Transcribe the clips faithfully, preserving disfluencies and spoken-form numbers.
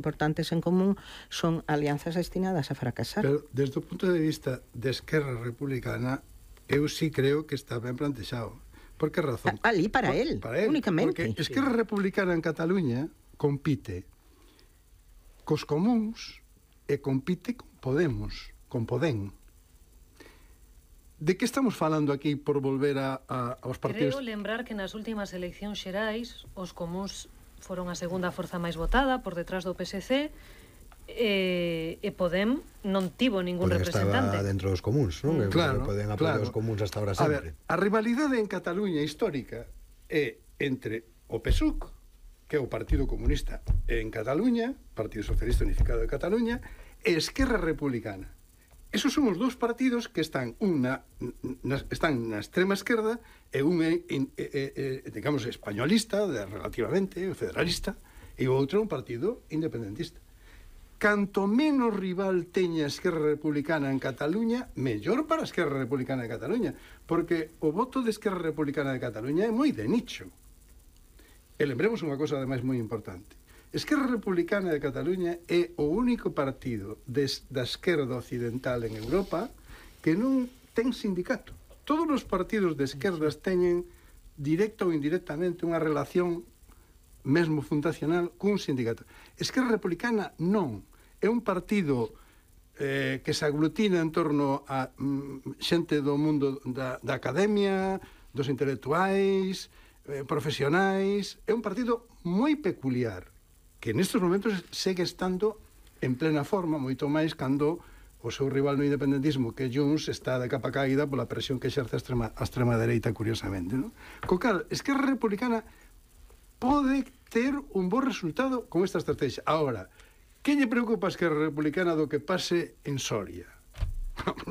importantes en común son alianzas destinadas a fracasar. Pero desde o punto de vista de Esquerra Republicana, eu sí creo que está ben plantexado. Por que razón? Ali para Por, él, para él, únicamente. Porque Esquerra Republicana en Cataluña compite cos comuns e compite con Podemos, con Podem. De que estamos falando aquí por volver a, a, aos partidos? Creo lembrar que nas últimas eleccións xerais os comuns foron a segunda forza máis votada por detrás do P S C e, e Podem non tivo ningún Podem representante. estaba dentro dos comuns, non? Mm. Claro, Poden apoiar claro. os comuns hasta ahora A sempre. ver, a rivalidade en Cataluña histórica é entre o P S U C, que é o Partido Comunista en Cataluña, Partido Socialista Unificado de Cataluña, e Esquerra Republicana. Esos son os dous partidos que están unha na, están na extrema esquerda e un é, é, é, é digamos, españolista, de, relativamente, federalista, e o outro é un partido independentista. Canto menos rival teña a Esquerra Republicana en Cataluña, mellor para a Esquerra Republicana de Cataluña, porque o voto de Esquerra Republicana de Cataluña é moi de nicho. E lembremos unha cosa, ademais, moi importante. Esquerra Republicana de Cataluña é o único partido des, da esquerda occidental en Europa que non ten sindicato. Todos os partidos de esquerdas teñen, directa ou indirectamente, unha relación mesmo fundacional cun sindicato. Esquerra Republicana non. É un partido eh, que se aglutina en torno a mm, xente do mundo da, da academia, dos intelectuais, eh, profesionais. É un partido moi peculiar, que nestes momentos segue estando en plena forma, moito máis cando o seu rival no independentismo, que Junts, está de capa caída pola presión que exerce a extrema, a extrema dereita, curiosamente, non? Co cal, Esquerra Republicana pode ter un bo resultado con esta estrategia. Ahora, que lle preocupa a Esquerra Republicana do que pase en Soria?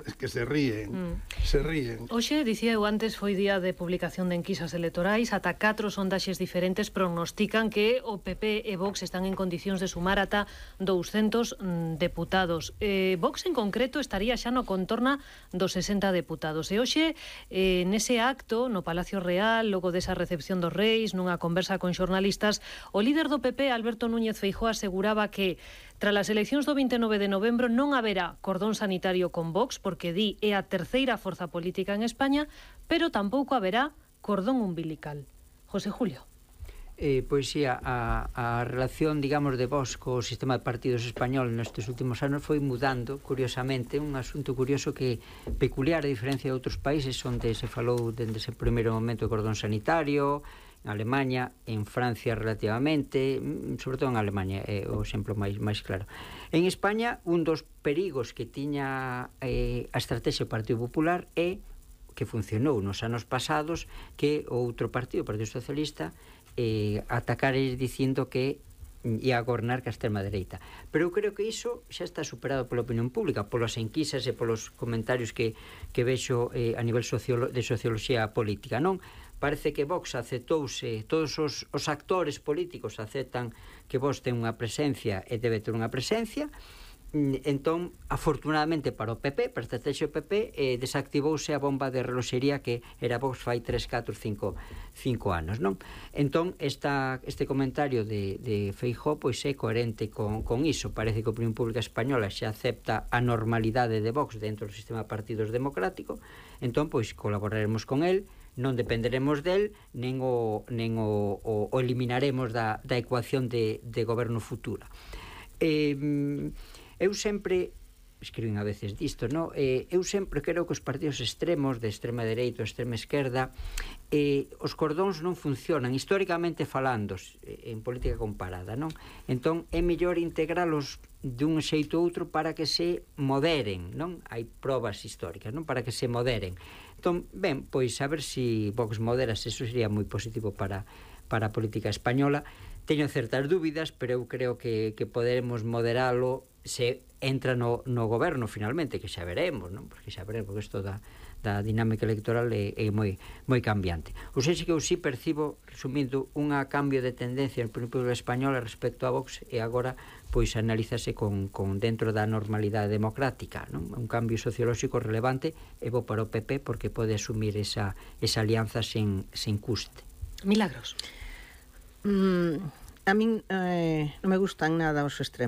Es que se ríen, mm. se ríen. Hoxe, dicía eu antes, foi día de publicación de enquisas electorais. Ata catro sondaxes diferentes prognostican que o P P e Vox están en condicións de sumar ata douscentos mm, deputados. Eh, Vox, en concreto, estaría xa no contorna dos sesenta deputados. E hoxe, eh, nese acto, no Palacio Real, logo desa recepción dos Reis, nunha conversa con xornalistas, o líder do P P, Alberto Núñez Feijóo, aseguraba que tras as eleccións do vinte e nove de novembro non haberá cordón sanitario con Vox, porque di é a terceira forza política en España, pero tampouco haberá cordón umbilical. José Julio. Eh, pois sí, a, a relación, digamos, de Vox co sistema de partidos español nestes últimos anos foi mudando, curiosamente, un asunto curioso que peculiar a diferencia de outros países onde se falou dende ese primeiro momento de cordón sanitario, en Alemanha, en Francia relativamente, sobre todo en Alemanha é o exemplo máis, máis claro. En España, un dos perigos que tiña eh, a estrategia do Partido Popular é que funcionou nos anos pasados que o outro partido, o Partido Socialista, eh, atacares dicindo que ia a gobernar que a extrema dereita. Pero eu creo que iso xa está superado pola opinión pública, polas enquisas e polos comentarios que, que vexo eh, a nivel sociolo, de socioloxía política, non? Parece que Vox aceptouse, todos os, os actores políticos aceptan que Vox ten unha presencia e debe ter unha presencia. Entón, afortunadamente para o P P, para a estrategia do P P, eh, desactivouse a bomba de reloxería que era Vox fai tres, catro, cinco, cinco anos, non? Entón, esta, este comentario de, de Feijóo pois é coherente con, con iso. Parece que a opinión pública española xa acepta a normalidade de Vox dentro do sistema de partidos democrático. Entón, pois, colaboraremos con el, non dependeremos del, nen o, nen o, o, o eliminaremos da, da ecuación de, de goberno futura. Eh, eu sempre escribín a veces disto, no? Eh, eu sempre creo que os partidos extremos de extrema dereita ou extrema esquerda eh, os cordóns non funcionan históricamente falando eh, en política comparada, non? Entón é mellor integralos dun xeito ou outro para que se moderen, non? Hai probas históricas, non? Para que se moderen. Entón, ben, pois a ver se si Vox modera, se eso sería moi positivo para, para a política española. Teño certas dúbidas, pero eu creo que, que poderemos moderalo se entra no, no goberno finalmente, que xa veremos, non? Porque xa veremos, porque isto da, da dinámica electoral é, é moi, moi cambiante. Ou seja, que eu sí percibo, resumindo, unha cambio de tendencia no pueblo español respecto a Vox, e agora pois analízase con, con dentro da normalidade democrática, non? Un cambio sociolóxico relevante e bo para o P P porque pode asumir esa, esa alianza sen, sen custe. Milagros. Mm, A min eh, non me gustan nada os extremos.